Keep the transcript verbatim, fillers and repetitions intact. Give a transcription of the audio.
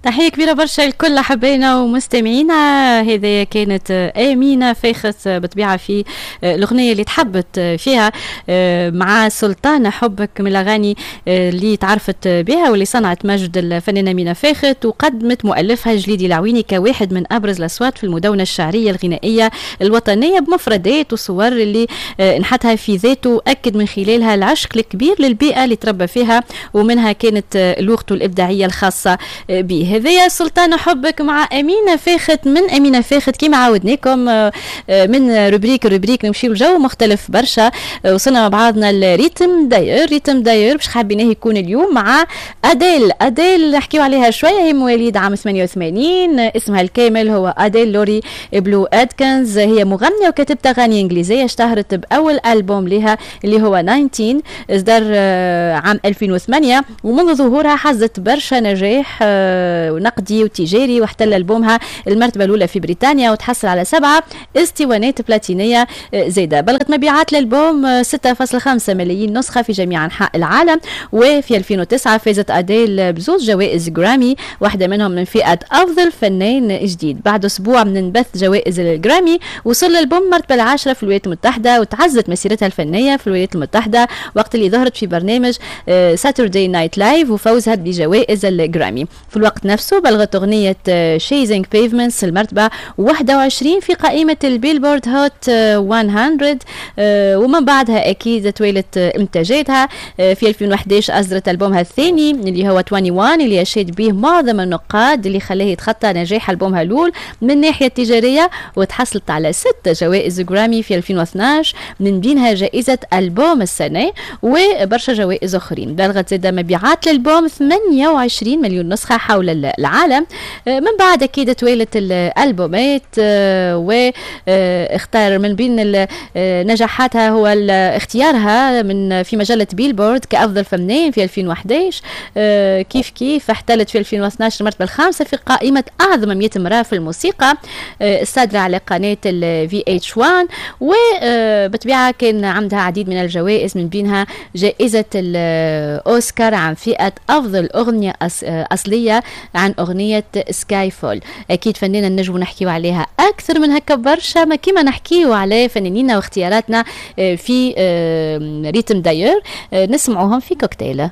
تحية كبيرة برشا لكل أحبائنا ومستمعينا. هذه كانت أمينة فاخت بطبيعة في الأغنية اللي تحبت فيها مع سلطانة حبك، من الأغاني اللي تعرفت بها واللي صنعت مجد الفنانة أمينة فاخت، وقدمت مؤلفها جليدي العويني كواحد من أبرز الأصوات في المدونة الشعرية الغنائية الوطنية، بمفردات وصور اللي نحتها في ذاته، أكد من خلالها العشق الكبير للبيئة اللي تربى فيها، ومنها كانت لغته الإبداعية الخاصة به. هذايا سلطانة حبك مع أمينة فاخت. من أمينة فاخت كما عودناكم من rubrique rubrique نمشيو لجو مختلف برشا. وصلنا مع بعضنا ال rythme d'ailleurs، rythme d'ailleurs باش حابيناه يكون اليوم مع أديل. أديل نحكيو عليها شوية، هي مواليد عام ثمانية وثمانين، اسمها الكامل هو أديل لوري بلو أدكنز. هي مغنية وكاتبة أغاني إنجليزية، اشتهرت بأول ألبوم لها اللي هو تسعة عشر، اصدر عام ألفين وثمانية، ومنذ ظهورها حصدت برشا نجاح نقدي وتجاري، واحتل ألبومها المرتبة الأولى في بريطانيا وتحصل على سبعة اسطوانات بلاتينية زايدة. بلغت مبيعات الألبوم ستة فاصلة خمسة ملايين نسخة في جميع أنحاء العالم. وفي ألفين وتسعة فازت أديل بزوج جوائز جرامي، واحدة منهم من فئة أفضل فنان جديد. بعد أسبوع من بث جوائز الجرامي وصل الألبوم المرتبة العاشرة في الولايات المتحدة، وتعزت مسيرتها الفنية في الولايات المتحدة وقت اللي ظهرت في برنامج Saturday Night Live وفوزها بجوائز الجرامي. في الوقت نفسه بلغت أغنية Chasing Pavements المرتبة واحد وعشرين في قائمة ال Billboard Hot مية، ومن بعدها أكيد توالت إنتاجاتها. في ألفين وحداش أصدرت ألبومها الثاني اللي هو واحد وعشرين، اللي أشاد به معظم النقاد، اللي خلاه يتخطى نجاح ألبومها الأول من الناحية التجارية، وتحصلت على ست جوائز جرامي في ألفين واثناش، من بينها جائزة ألبوم السنة وبرشا جوائز أخرين. بلغت زاد مبيعات الألبوم ثمانية وعشرين مليون نسخة حول العالم. من بعد أكيد توالت الألبومات، واختار من بين نجاحاتها هو اختيارها من في مجلة بيلبورد كأفضل فنان في ألفين وحداش. كيف كيف احتلت في ألفين واثناش المرتبة الخامسة في قائمة أعظم مية امرأة في الموسيقى الصادرة على قناة ال في إتش وان. وبطبيعة كان عندها عديد من الجوائز، من بينها جائزة الأوسكار عن فئة أفضل أغنية أصلية عن أغنية Skyfall. أكيد فنانة نجم نحكيو عليها أكثر من هكا برشا، ما كيما نحكيو على فنانينا واختياراتنا في rythme d'ailleurs نسمعوهم في كوكتيل.